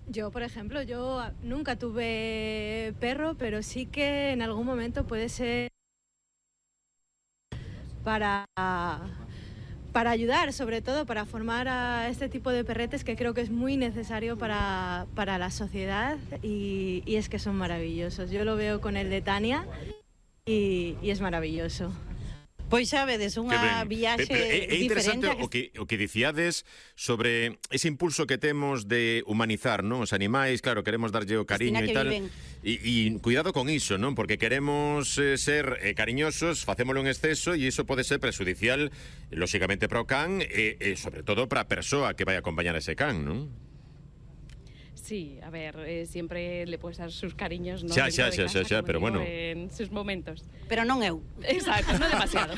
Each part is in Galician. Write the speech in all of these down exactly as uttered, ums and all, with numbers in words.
Yo, por ejemplo, yo nunca tuve perro, pero sí que en algún momento puede ser para, para ayudar, sobre todo para formar a este tipo de perretes que creo que es muy necesario para, para la sociedad y, y es que son maravillosos. Yo lo veo con el de Tania y, y es maravilloso. Pois xa vedes, unha viaxe é, é interesante diferente. o que, o que dicíades sobre ese impulso que temos de humanizar, non, os animais, claro, queremos darlle o cariño e tal. E, e cuidado con iso, non, porque queremos eh, ser eh, cariñosos, facémolo en exceso e iso pode ser prejudicial, lóxicamente para o can e, e sobre todo para a persoa que vai acompañar a ese can, non? Sí, a ver, eh, siempre le puedes dar sus cariños, ¿no? Xa, xa, xa, xa, xa, pero bueno. En sus momentos. Pero non eu. Exacto, no demasiado.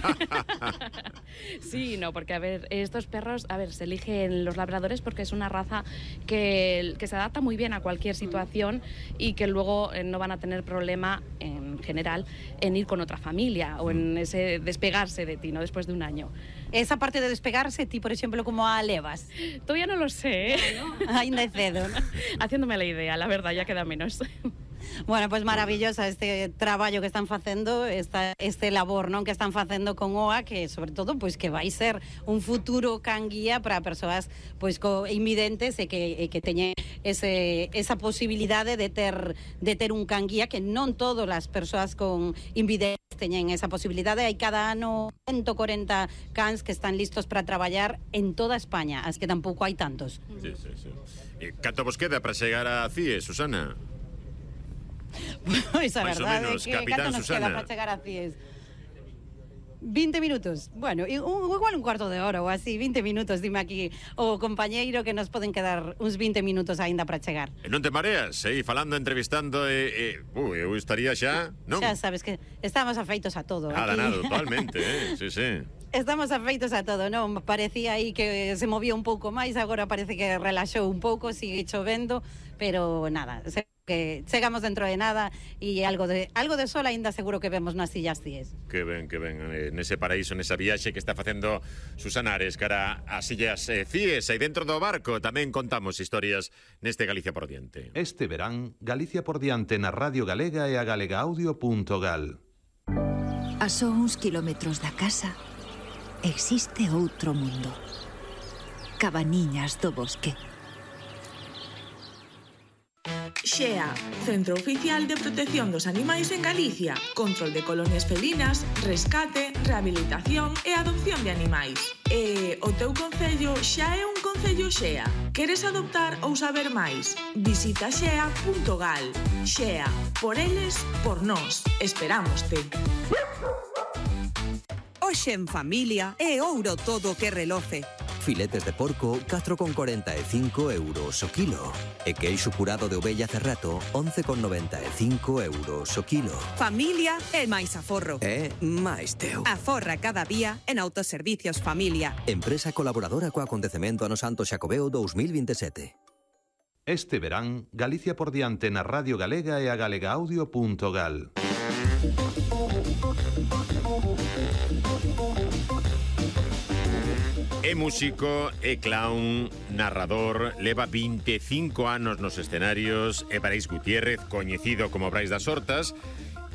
Sí, no, porque a ver, estos perros, a ver, se eligen los labradores porque es una raza que, que se adapta muy bien a cualquier situación y que luego eh, no van a tener problema, en general, en ir con otra familia o en ese despegarse de ti, ¿no? Después de un año. Esa parte de despegarse, ti, por exemplo, como a levas? Todavía no lo sé, ¿eh? ¿No? Ainda é cedo, ¿no? Haciéndome la idea, la verdad, ya queda menos. Bueno, pues maravillosa este traballo que están facendo, esta, este labor, non, que están facendo con O A, que sobre todo pois que vai ser un futuro can guía para persoas pois co invidentes e que e que teñen ese esa posibilidade de ter de ter un can guía, que non todas as persoas con invidentes teñen esa posibilidade. Hai cada ano ciento corenta cans que están listos para traballar en toda España, as que tampouco hai tantos. Sí, sí, sí. E canto vos queda para chegar a C I E, Susana? Pois a Mais ou verdade menos, que Capitán canto nos Susana. queda para chegar a C I E S? vinte minutos. Bueno, igual un cuarto de hora ou así, vinte minutos, dime aquí o compañeiro que nos poden quedar uns vinte minutos aínda para chegar. E non te mareas, eh? Falando, entrevistando e... Eh, uh, eu estaría xa, non? Xa sabes que estamos afeitos a todo. Nada, aquí. nada, totalmente, eh? Sí, sí. Estamos afeitos a todo, non? Parecía aí que se movía un pouco máis, agora parece que relaxou un pouco, sigue chovendo, pero nada, se que chegamos dentro de nada e algo de algo de sol aínda seguro que vemos nas sillas C I E S. Que ben, que ben, eh, nese paraíso, nesa viaxe que está facendo Susana Ares cara ás sillas eh, C I E S, e dentro do barco tamén contamos historias neste Galicia por diante. Este verán, Galicia por diante na Radio Galega e a galegaaudio punto gal. A só uns kilómetros da casa existe outro mundo. Cabaniñas do Bosque. Xea, Centro Oficial de Protección dos Animais en Galicia. Control de colonias felinas, rescate, rehabilitación e adopción de animais. E o teu concello xa é un concello Xea. Queres adoptar ou saber máis? Visita xea punto gal. Xea, por eles, por nós. Esperámoste. Hoxe en familia é ouro todo que reloce. Filetes de porco, catro con corenta e cinco euros o kilo. E queixo curado de ovella cerrato, once con noventa e cinco euros o kilo. Familia é máis aforro. É máis teu. Aforra cada día en Autoservicios Familia. Empresa colaboradora co acontecemento ano Santo Xacobeo dous mil vinte e sete. Este verán, Galicia por diante na Radio Galega e a galegaaudio punto gal. É músico, é clown, narrador, leva vinte e cinco anos nos escenarios, é Brais Gutiérrez, coñecido como Brais das Hortas,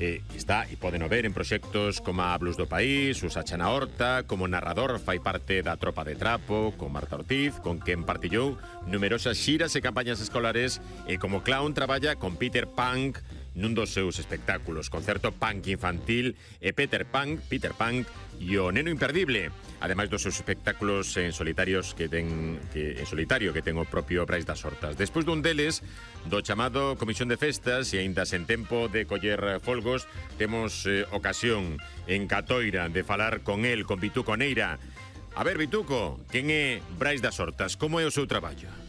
e está, e poden o ver en proxectos como a Blues do País, Usacha na Horta, como narrador fai parte da Tropa de Trapo, con Marta Ortiz, con quen partillou numerosas xiras e campañas escolares, e como clown traballa con Peter Punk nun dos seus espectáculos, concerto punk infantil e Peter Punk, Peter Punk e o Neno Imperdible, ademais dos seus espectáculos en solitarios que ten que en solitario que ten o propio Brais das Hortas. Despois dun deles, do chamado Comisión de Festas, e aínda sen tempo de coller folgos, temos eh, ocasión en Catoira de falar con el, con Vituco Neira. A ver, Vituco, quen é Brais das Hortas? Como é o seu traballo?